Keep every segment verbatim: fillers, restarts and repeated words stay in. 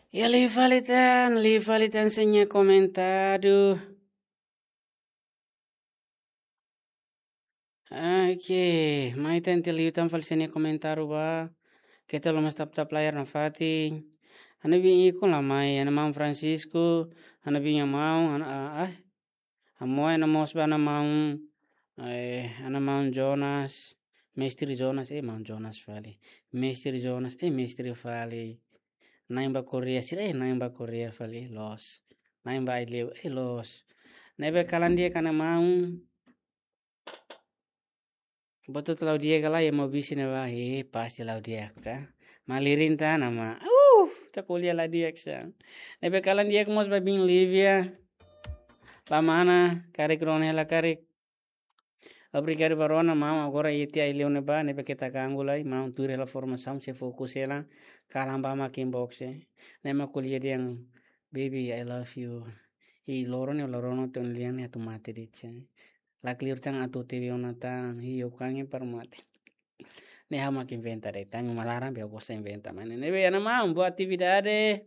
Ya, liu fali tan, liu fali tan sira-nia komentáriu. Oke, mai tan ita liu tan fali sira-nia komentáriu ba. Keta haluha tap-tap layar nafatin. Ha'u-nia biin ikun la mai, ha'u-nia maun Francisco, ha'u-nia biin nia maun, ha'u-nia, ah, ah, ha'u-nia maun, ha'u-nia maun, eh, ha'u-nia maun Jonas, Mestre Jonas, eh, maun Jonas fali. Mestre Jonas, eh, mestre fali. Na'in ba Korea sira, eh, na'in ba Korea fali, eh, loos. Na'in ba Aileu, eh, loos. Ne'ebé kalan di'ak ha'u-nia maun. Buat hotu la'o di'ak ka lae, ema bisi ne'ebá, eh, pasti la'o di'ak, ka? Malirin tan, maun. Uh, ita ko'alia la di'ak sa. Ne'ebé kalan di'ak mós ba biin Livia. Ba mana, karik rona hela karik. Obrigadu ba rona, maun, agora iha tiha Aileu ne'ebá, ne'ebé keta ganggu lai, maun tuir hela formasaun, sei fokus hela, kalan ba mak inbox, eh. Ne'e mak ko'alia dehan, "Baby, I love you." I loron ne'e, loron ne'e, tun lian ne'e atu mate de'it, eh. Lakleur tan atu T V ona tan, hi, eu kangen para mate. Ne'e ha'u mak inventa de'it, ami uma laran be gosta inventa, maun. Ne'ebé, ha'u-nia maun, boa atividade.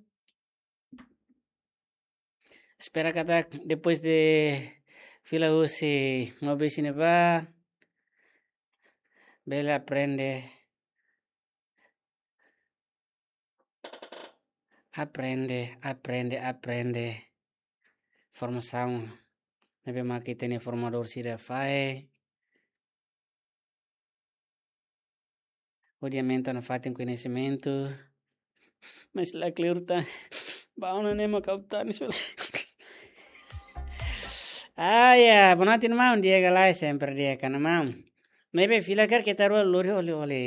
Espera katak depois de fila husi maun bisi ne'ebá, bele aprende, aprende, aprende, aprende. Formasaun ne'ebé mak ita-nia formadór sira fahe. Hodi aumenta nafatin koñesimentu. Mas lakleur tan. Ba ona ne'e mak ha'u tanis fali. Ah, ya, boa noite, maun. Di'ak ka lae, sempre di'ak, ha'u-nia maun. Ne'ebé fila karik keta haluha lori ole-ole.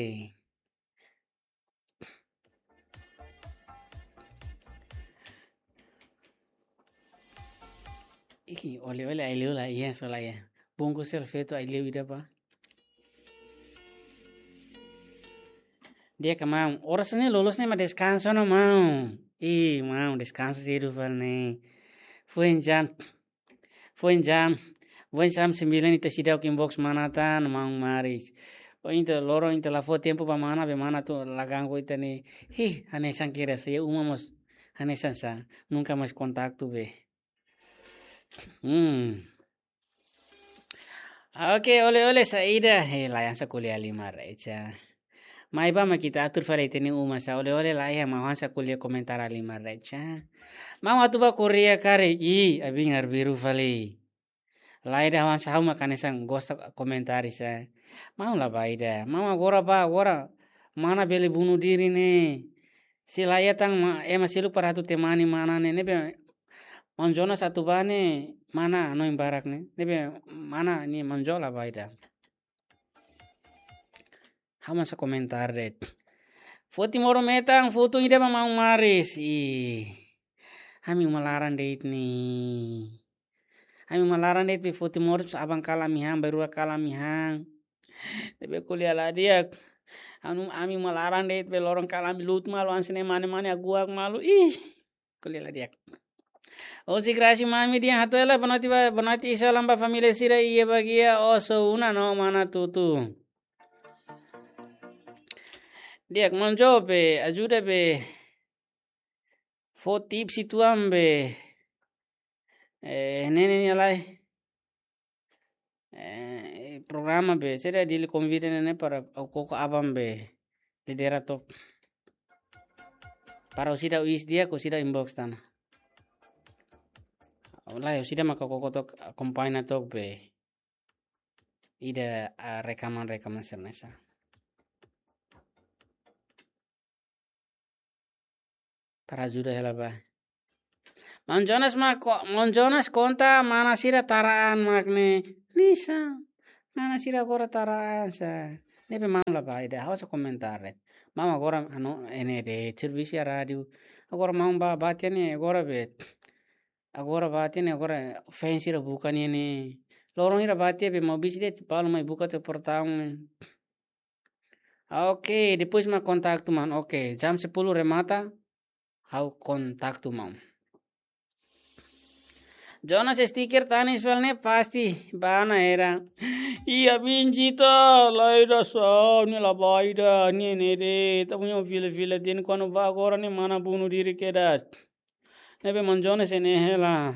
Ih, ole-ole Aileu la iha, só la iha. Bungkus sira feto Aileu ida ba. Di'ak ka maun, oras ne'e loloos ne'e mak deskansa ona maun. Ih, maun, deskansa sedu fali ne'e. Foin jam, foin jam, foin jam sembilan ita seidauk inbox mana tan, maun Maris. Ohin ita loron ita la fó tempu ba mana, be mana atu la ganggu ita ne'e. Hi, hanesan kira sei uma mós, hanesan sa, nunka mais kontaktu be. Hmm. Oke, ole-ole saida. He, la hanesan ko'alia liman-recha. Mai ba mak ita atur fali ita-nia uma sa ole-ole la iha, maun hanesan ko'alia komentar liman-recha. Maun atu ba Korea karik, ih, abin arbiru fali. Lae ida, hanesan ha'u mak hanesan gosta komentar sa. Maun la ba ida. Maun agora ba, agora mana bele bunuh diri ne'e. Se la iha tan ma-, ema seluk para atu temani mana ne'e, ne'ebé maun Jonas atu ba ne'e, mana hanoin barak ne'e. Ne'ebé mana ne'e maun Jo la ba ida. Ha'u hanesan komentar de'it. Foti moru metan, foti ida ba maun Maris. Ih. Ami uma laran de'it ne'e. Ami uma laran de'it be foti moru, aban kalan ami han, bainrua kalan ami han. Ne'ebé ko'alia la di'ak. Anu, ami uma laran de'it be loron kalan ami lutu malu, hanesan ne'e mane-mane aguak malu. Ih. Ko'alia la di'ak. Osi Graci Mami dehan hato'o hela, boa noite ba, boa noite, i salam ba família sira iha bagian Oso Una no Manatuto. Di'ak, maun Jo be, ajuda be. Fó tips uitoan be. Eh, ne'e, ne'e, ne'e lai. Eh, programa be, sira Dili konvida ne'e para ha'u koko aban be lidera took. Para ha'u seidauk iis di'ak, ha'u seidauk inbox tan. Wallahi, ha'u seidauk maka koko took, akompaña took be. Ida, ah, rekaman-rekaman sira hanesan. Para ajuda hela ba. Maun Jonas mak ko-, maun Jonas konta mana sira taraan mak ne'e. Nisa. Mana sira agora taraan sa. Ne'ebé maun la ba ida, ha'u hanesan komentar de'it. Maun agora anu, ne'e de'it, servisu iha rádiu. Agora maun ba, ba tiha ne'e, agora be. Agora ba tiha ne'e, agora fans sira buka ne'e ne'e. Loron hira ba tiha be, maun bisi de'it, balu mai buka tiha portaun ne'e. Oke, depois mak kontaktu maun. Oke, jam sepuluh remata, ha'u kontaktu maun. Jonas stiker tanis fali ne'e pasti bá ona hela. Ih, abin Zita, la ida sá, ne'e la bá ida, ne'e ne'e de'it, ita-nia fila-fila de'it, kuandu bá agora ne'e mana bunuh diri kedas. Ne'ebé maun Jonas ne'e hela.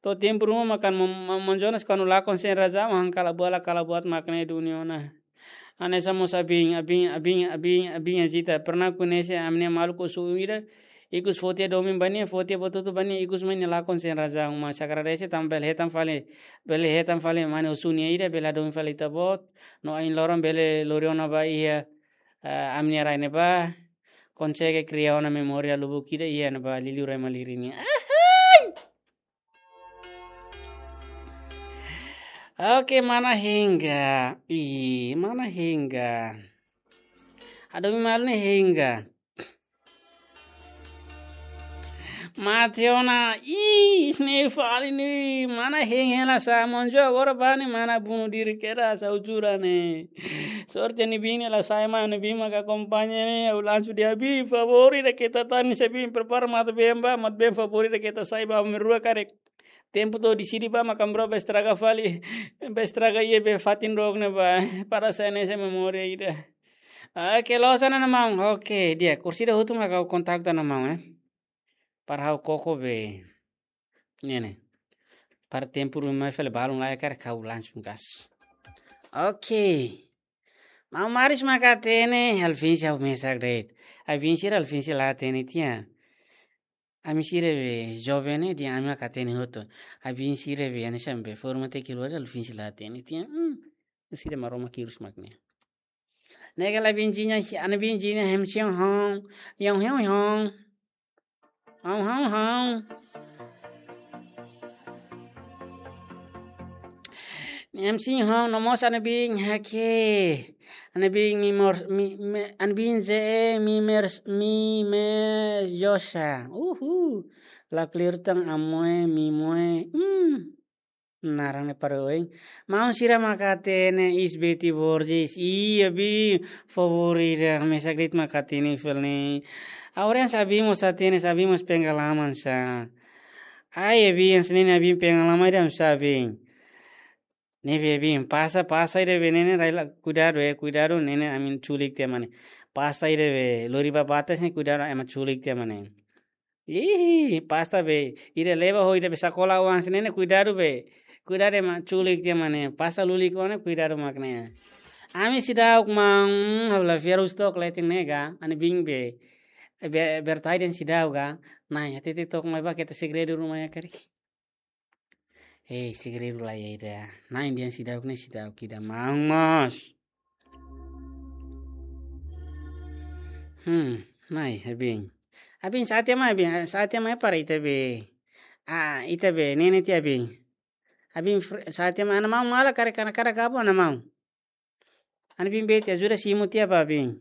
To'o tempu ruma mak maun, maun, maun Jonas kuandu lakon sein razaun, han kala-buat la kala-buat mak ne'e duni ona. Hanesan mós abin, abin, abin, abin, abin Zita. Pernah koñese ami-nia maluk osu ida, ikus fó tiha domin ba nia, fó tiha buat hotu ba nia, ikus mai nia lakon sein razaun. Mas agradese tanba bele hetan fali, bele hetan fali mane osu nia ida, bele hadomi fali ita-boot. No ain loron bele lori ona ba iha, eh, ami-nia rai ne'ebá. Konsege kria ona memória lubuk ida iha ne'ebá liuliu rai malirin nian. Ahai! Oke, mana Hengga? Ih, mana Hengga? Hadomi malu ne'e Hengga. Mate ona, ih, isne fali ne'e, mana Heng hela sá, maun Zita agora bá ne'e, mana bunuh diri kedas, ha'u jura ne'e. Sorte ne'e bin ne'e la sai mai, ne'e bin maka akompaña ne'e, ha'u langsung dehan bin, favór ida keta tan, se bin prepara mate-been bá, mate-been favór ida keta sai bá, ami rua karik. Tempu to'o deside bá, mak ami rua bá estraga fali, bá estraga iha be fatin dook ne'e bá, para sai hanesan memória ida. Oke, loos ona maun, oke, di'ak, kursi ida hotu mak ha'u kontaktu ona maun, eh. Para ha'u koko be. Ne'e ne'e. Para tempu ruma fali balun la iha karik ha'u langsung gas. Oke. Maun Maris mak hatene, Alvin sira mesak de'it. Abin sira Alvin sira la hatene tiha. Ami sira be joven ne'e dehan ami mak hatene hotu. Abin sira be hanesan be forma te kilore Alvin sira la hatene tiha. Hmm. Sira Maromak hirus mak ne'e. Ne'e kala abin Zita, ana abin Zita, hem siang hong, yong hem hong. Hong, hong, hong. Hem siang hong, no mós ana abin hake. Ana abin mi mor, mi, mi, ana abin ze, mi mer, mi me josa. Uhu. La clear tang amoe, mi moe. Hmm. Naran ne'e para oin. Maun sira mak hatene is Betty Borges. Ih, abin, favór ida, mesak de'it mak hatene fali ne'e. Agora hanesan abin mós hatene, hanesan abin mós pengalaman sá. Ai, abin, hanesan ne'e abin pengalaman ida hanesan abin. Ne'ebé abin, pasta, pasta ida be ne'e ne'e rai la, kuidadu, eh, kuidadu, ne'e ne'e ami-nia culik tiha mak ne'e. Pasta ida be, lori ba batas ne'e kuidadu, ema culik tiha mak ne'e. Ih, pasta be, ida leba ho ida be sakola oan hanesan ne'e ne'e kuidadu be. Kuidadu ema culik tiha mak ne'e, pasta lulik oan ne'e kuidadu mak ne'e. Ami seidauk maun, ha'u la fiar husik tok leten ne'e ga, ana abin be. Be, bertai dehan seidauk ga, nai, hatete tok mai ba keta segredu ruma iha karik. Eh, segredu la iha ida. Nai dehan seidauk ne'e seidauk ida maun mós. Hmm, nai, abin. Abin sa'e tiha mai, abin, sa'e tiha mai para ita be. Ah, ita be, ne'e ne'e tiha abin. Abin fr-, sa'e tiha mai, ana maun mala karik, karik, karik gabo ana maun. Ana abin Betty, ajuda simu tiha ba abin.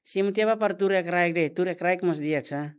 Simu tiha ba para tuur iha kraik de'it, tuur iha kraik mós di'ak sá.